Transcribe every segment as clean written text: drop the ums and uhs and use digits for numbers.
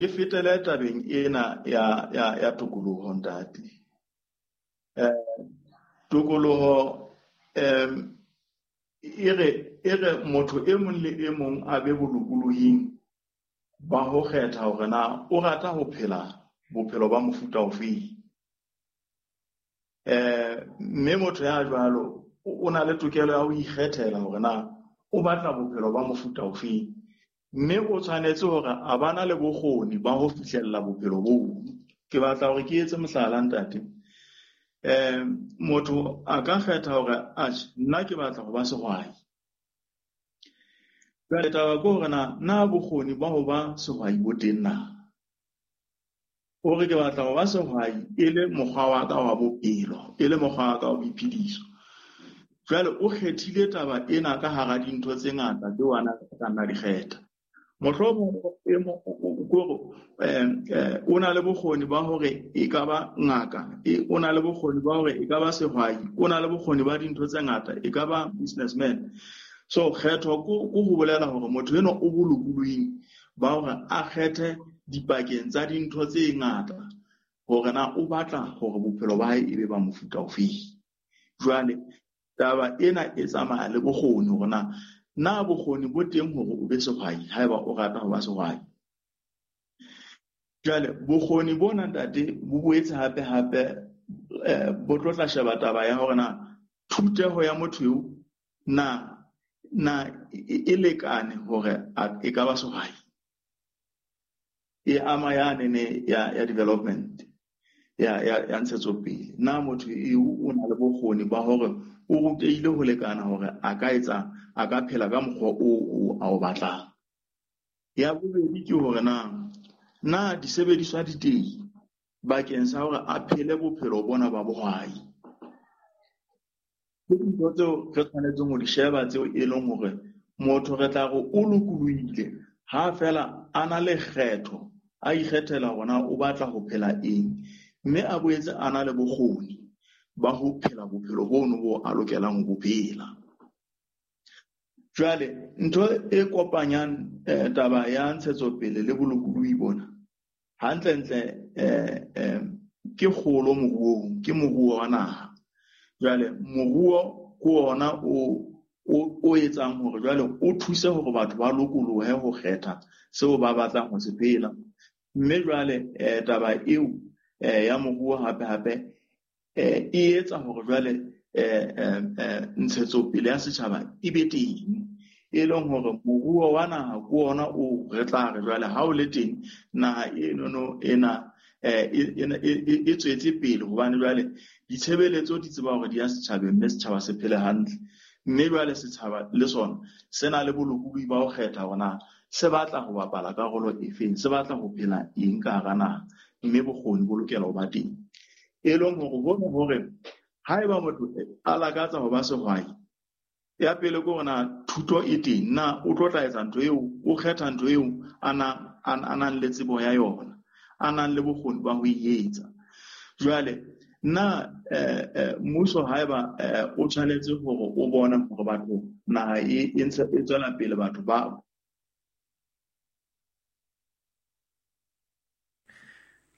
Ke fetele tabeng ena ya tokoloho, ntate. Tokoloho e re motho e mong le e mong a be bolokolohing ba ho kgetha hore na o rata ho phela bophelo ba mofuta ofeng. Mme motho ya jwalo o na le tokelo ya ho ikgethela hore na o batla bophelo ba mofuta ofeng. Mme o tshwanetse hore a bana le bokgoni ba ho fihlella bophelo boo. Ke batla hore ke etse mohlala, ntate. Motho a ka kgetha hore atjhe, nna ke batla ho ba sehwai. Jwale taba ke hore na bokgoni ba ho ba sehwai bo teng na? O re ke batla ho ba sehwai e le mokgwa wa ka wa bophelo, e le mokgwa wa ka wa boiphediso. Jwale o kgethile taba ena ka hara dintho tse ngata tseo a ka nna di kgetha. Mohlomong o na le bokgoni ba hore e ka ba ngaka, o na le bokgoni ba hore e ka ba sehwai, o na le bokgoni ba dintho tse ngata, e ka ba businessman. So kgetho ko ho bolela hore motho enwa o bolokolohing ba hore a kgethe dipakeng tsa dintho tse ngata hore na o batla hore bophelo ba hae e be ba mofuta ofeng. Jwale taba ena e tsamaya le bokgoni hore na bokgoni bo teng hore o be sehwai haeba o rata ho ba sehwai. Jwale bokgoni bona, ntate, bo boetse hape hape bo tlo tla sheba taba ya hore na thuteho ya motho eo na e lekane hore e ka ba sehwai. E ama yane ne ya development ya ntshetsopele. Na motho eo o na le bokgoni ba hore o rutehile ho lekana hore a ka etsa, a ka phela ka mokgwa o a o batlang. Ya bobedi ke hore na disebediswa di teng bakeng sa hore a phele bophelo bona ba bohwai. Ke dintho tseo re tshwanetseng ho di sheba tseo e leng hore motho re tla re o lokolohile ha feela a na le kgetho, a ikgethela hore na o batla ho phela eng, mme a boetse a na le bokgoni ba ho phela bophelo bono bo a lokelang ho bo phela. Jwale ntho e kopanyang taba ya ntshetsopele le bolokolohi bona hantlentle ke kgolo moruong, ke moruo wa naha. Jwale moruo ke ona o etsang hore jwale o thuse hore batho ba lokolohe ho kgetha seo ba batlang ho se phela. Mme jwale taba eo ya moruo hape hape e etsa hore jwale ntshetsopele ya setjhaba e be teng, e leng hore moruo wa naha ke ona o re tla re jwale ha o le teng naha enono ena e tswetse pele, hobane jwale ditshebeletso di tseba hore di ya setjhabeng mme setjhaba se phele hantle. Mme jwale setjhaba le sona se na le bolokolohi ba ho kgetha hore na se batla ho bapala karolo efeng, se batla ho phela eng ka hara naha, mme bokgoni bo lokela ho ba teng. E leng hore hona hore haeba motho a lakatsa ho ba sehwai, ya pele ke hore na thuto e teng, na o tlo tla etsa ntho eo, o kgetha ntho eo a nang le tsebo ya yona, a nang le bokgoni ba ho e etsa. Jwale na mmuso haeba o tshwanetse hore o bone hore batho naha e ntse e tswela pele, batho ba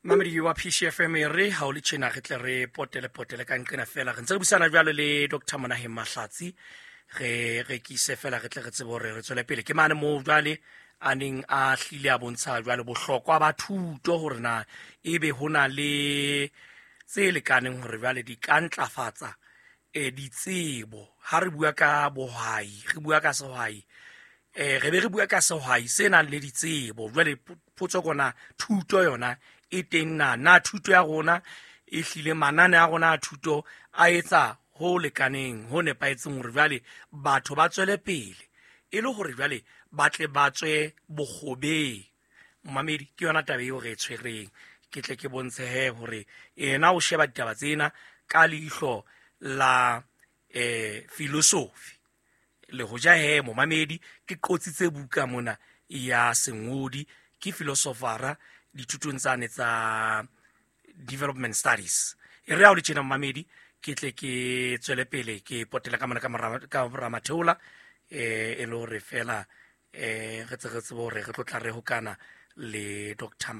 Mamedi wa PCFM e re ha o le tjena re tle re potele potele ka nqena fela. Re ntse re buisana jwalo le Dr. Monaheng Mahlatsi, re rekise fela re tle re tsebe hore re tswele pele. Ke mane moo jwale a neng a hlile a bontsha jwale bohlokwa ba thuto hore na ebe ho na le tse lekaneng hore jwale di ka ntlafatsa ditsebo. Ha re bua ka bohwai, re bua ka sehwai, re be re bua ka sehwai se nang le ditsebo. Jwale potso kona thuto yona e teng na? Na thuto ya rona e hlile manane a rona a thuto a etsa ho lekaneng, ho nepahetseng hore jwale batho ba tswele pele e le hore jwale ba tle ba tswe bokgobeng. Momamedi, ke yona taba eo re e tshwereng. Ke tle ke bontshe he hore yena o sheba ditaba tsena ka leihlo la philosophy. Le hoja he momamedi ke qotsitse buka mona ya sengodi, ke filosofara dithutong tsane tsa development studies. E re ha o le tjena momamedi, ke tle ke tswele pele ke potela ka mona ka mora matheola, e le hore fela re tse re tsebe hore re tlo tla re hokana Le Dr.